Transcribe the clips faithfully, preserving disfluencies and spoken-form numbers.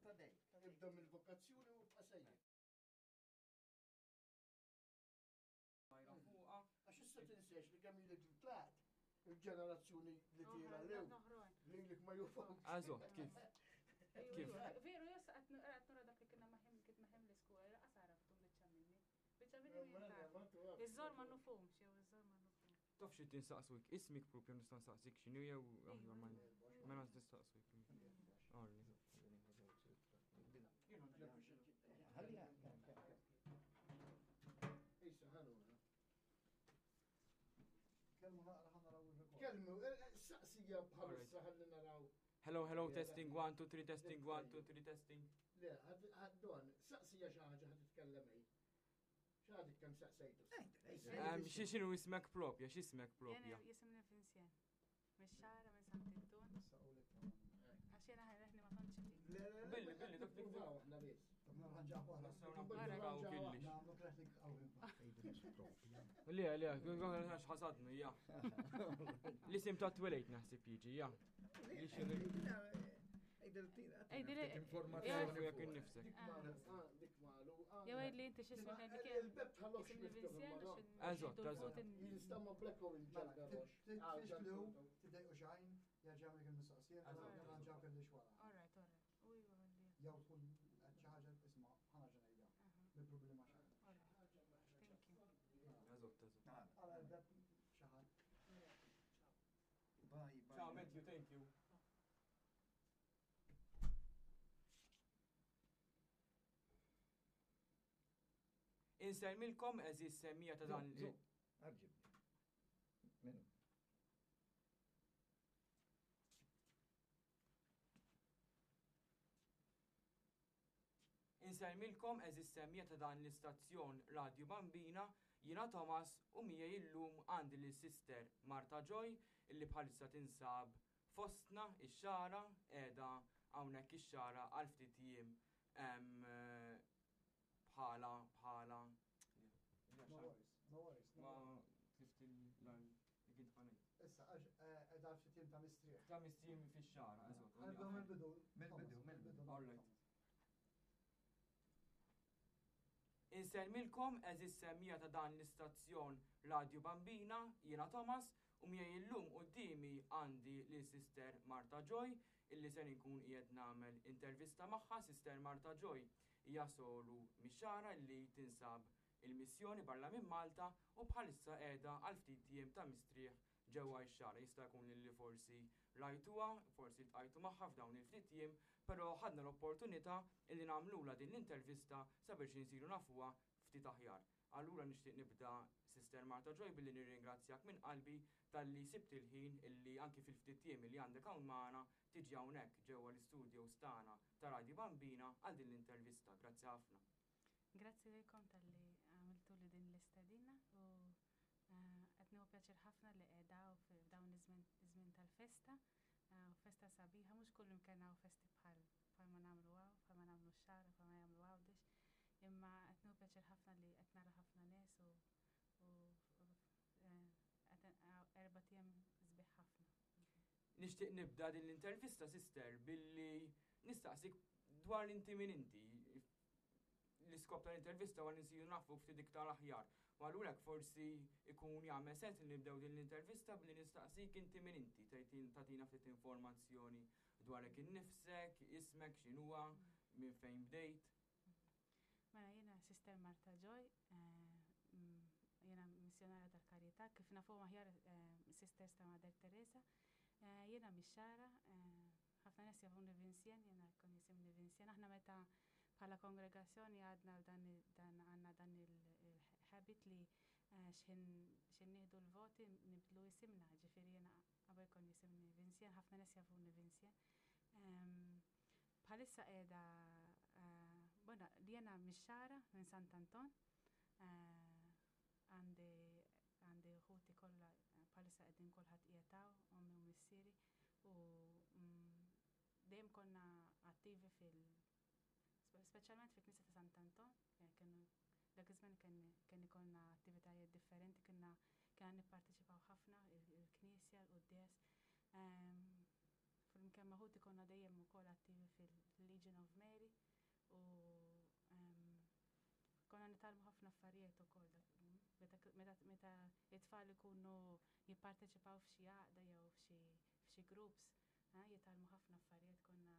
Xorta dej. Ibda mill-vokazzjoni u ibqa' sejjer. Majra fuqa. Għax issa tinsiex li kemm ilek li tlaqt, il-ġenerazzjoni li tira lew, lilek ma jufhomx. Eżatt, kif? Kif? Veru, jas qed nura dak li kienna maħim kien maħim l-iskola, laqas għaraftum biċċa minni. Biċċa minni min taf. Iż-żor ma nufhomx, jew iż-żor ma nufhomx. Taf xi tinsaqswik, ismik propju nista' nsaqsik x'inhu jew aħjar ma mela nistaqswik. Orli. Ħalliha. Issa ħanura. Kelmu naqra ħa naraw il-rekord. Kelmu, saqsija bħalissa ħalli naraw. Hello, hello, testing, one, two, three, testing, one, two, three, testing. Le, don, saqsija xi ħaġa ħad titkellem ej. X'għadek kemm saqsejtu? Ehm, Xi x'inhu ismek propja, x'ismek propja? Jena jisimni Vincent. Mix-Xagħra minn Sant'Anton. Saqulek tamam. Għax jena ħajreħni ma tantx itik. Le, le, le, Billi, billi, dak- dak- nippruvaw aħna biss. Tab nirranġaw waħda. Nistgħu nagħmlu killix. Nagħmlu traffic qawwi. Le, le, għax ħasadnu, ja. L-isim ta' twelejt naħseb jiġi, ja. Li xi- Ejdili- Informazzjoni jekk innifsek. Dik magħluqa, dik magħluqa. Jew għid li inti x'ismek ngħidlek jien. Il-beb tħallokx Jisimni Vincent u x'in- Eżatt, eżatt. Jinstama black hole Mela, il-ġalda rox. tfixklu, tidejqu xajn, jerġa' jagħmlek il-mistoqsija, nirranġaw kellix wara. All right, all right. U iva għalli. Jew tkun qed xi ħaġa isma' ħa nerġa' ngħidha. Bil-problema xejn. All right. Thank you. Eżatt, eżatt. Għala l-beb xi ħadd. Bye, bye. Ciao, Matthew, thank you. Insellmilkom għeżież semmiegħa ta' dan Zu, Arġibni. Minu. Insellmilkom għeżież semmiegħa ta' dan l-istazzjon Radio Bambina, jiena Thomas u miegħi illum għandi lil Sister Marta Joy illi bħalissa tinsab fostna ix-Xagħra qiegħda hawnhekk ix-Xagħra għal ftit jiem em, bħala bħala No worries, no worries. no ma worries. tlift il-li kint ħanejt. Issa, għax qiegħda ftit jiem ta' mistrieħ. Ta' mistrieħ fix-Xagħra, eżatt. Nibdew mill-bidu. Mill-bidu, Thomas, mill-bidu. All right. Insellmilkom għeżież semmiegħa ta' dan l-istazzjon Radio Bambina, jiena Thomas, u miegħi illum quddiemi għandi lil Sister Marta Joy, illi ser inkun qiegħed nagħmel intervista magħha. Sister Marta Joy hija soru mix-Xagħra li tinsab il-missjoni barra minn Malta u bħalissa qiegħda għal ftit jiem ta' mistrieħ ġewwa x-Xagħra. Jista' jkun li forsi rajtuha, forsi ltqajtu magħha f'dawn il-ftit jiem, però ħadna l-opportunità illi nagħmlula din l-intervista sabiex insiru nafuha ftit aħjar. Allura nixtieq nibda Sister Marta Joy billi nirringrazzjak minn qalbi talli sibt il-ħin illi anki fil-ftit jiem li għandek hawn magħna tiġi hawnhekk ġewwa l-istudios tagħna ta' Radio Bambina għal din l-intervista. Grazzi ħafna. Grazzi lilkom talli għamiltu li din l-istedina u eh, qed nieħu pjaċir ħafna li qiegħda f'dawn iż-żmien iż-żmien tal-festa. eh, U festa sabiħa, mhux kull imkien hawn festi bħal bħal ma nagħmlu hawn, bħal ma nagħmlu x-Xagħra, bħal ma jagħmlu Għawdex. Imma qed nieħu pjaċir ħafna li qed nara ħafna nies u u eh, qed erbat ijiem sbieħ ħafna. Nixtieq nibda din l-intervista, sister, billi nistaqsik dwar inti min inti. L-iskop tal-intervista huwa li nsiru nafu ftit iktar aħjar. U allura forsi ikun jagħmel sens li nibdew din l-intervista billi nistaqsik inti min inti, tgħidin tagħtina ftit informazzjoni dwarek innifsek, ismek, x'inhuwa, minn fejn bdejt. Mela jiena Sister Marta Joy, eh, mm, jiena missjonarja tal-Karità, kif nafu aħjar eh, Sisters ta' Mother Teresa. Eh, Jiena mix-Xagħra, eh, ħafna nies jafuni Vincent, jiena kon jisimni Vincent. Aħna meta bħala kongregazzjoni għadna dan il- dan għandna dan il-habit li eh, xħin xħin nieħdu l-voti nibdlu isimna, ġifieri jiena qabel kon jisimni Vincent, ħafna nies jafuni Vincent. Em, Bħalissa qiegħda eh, bona li jiena mix-Xagħra minn Sant'Anton. eh, Għandi għandi ħuti kollha eh, bħalissa qegħdin kulħadd qiegħed hawn, ommi u missieri u mm, dejjem konna attivi fil spe- speċjalment fil-Knisja ta' Sant'Anton, eh, kienu dak iż-żmien kien kien ikollna attivitajiet differenti, kienna kienna nipparteċipaw ħafna il- il-Knisja, l-quddies. Flimkien ma' ħuti konna Konna dejjem ukoll attivi fil-Legion of Mary u em, konna nitgħallmu ħafna affarijiet ukoll dak- meta meta meta it-tfal ikunu jipparteċipaw f'xi għaqda jew f'xi f'xi groups, eh, jitgħallmu ħafna affarijiet. Konna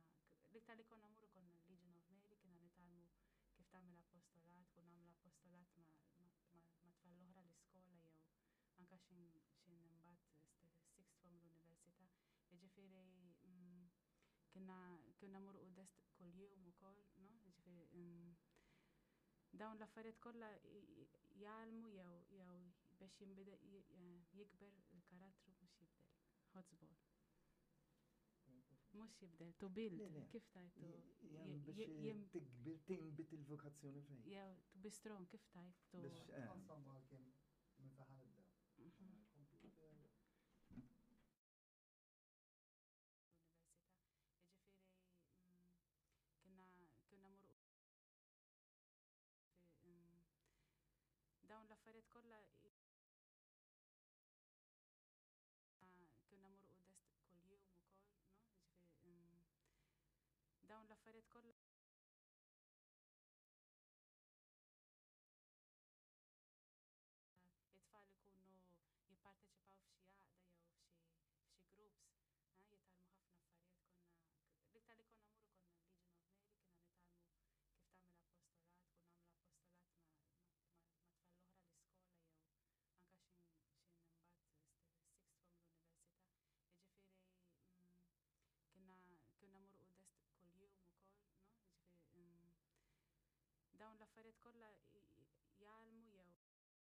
l-iktar li konna mmorru konna Legion of Mary, kiena nitgħallmu kif tagħmel apostolat, kun nagħmlu apostolat ma' ma' ma' ma' tfal l-oħra l-iskola jew anka xin xin imbagħad sixth form l-università. Jiġifieri mm, kienna kienna mmorru quddies kuljum ukoll, no? Jiġifieri mm, dawn l-affarijiet kollha i- i- jgħallmu jew jew biex jinbidel j- eh, jikber il-karattru, mhux jibdel. Ħodsbol. Mhux jibdel, to build, Le, le. kif tajtu? Jem biex jem- tikbir tinbit il-vokazzjoni fejn. Jew to be strong, kif tajtu? Biex eh, Insomma, għal-kem minn fejn nibdew. Mhm. Computer. L-università. Jiġifieri mm, kienna kienna mmorru mm, dawn l-affarijiet kollha i- kienna mmorru quddies kuljum ukoll, no? Jiġifieri mm, dawn l-affarijiet kollha it-tfal ikunu jipparteċipaw f'xi għaqda jew f'xi f'xi groups, eh, jitgħallmu ħafna affarijiet. Konna l-iktar li konna mmorru konna Legion of Mary, kiena nitgħallmu kif tagħmel apostolat, kun nagħmlu apostolat ma' ma' ma' tfal l-oħra l-iskola jew anka xin xin imbagħad sixth form l-università. Jiġifieri mm, kienna kienna mmorru quddies kuljum ukoll, no? Jiġifieri mm, dawn l-affarijiet kollha i-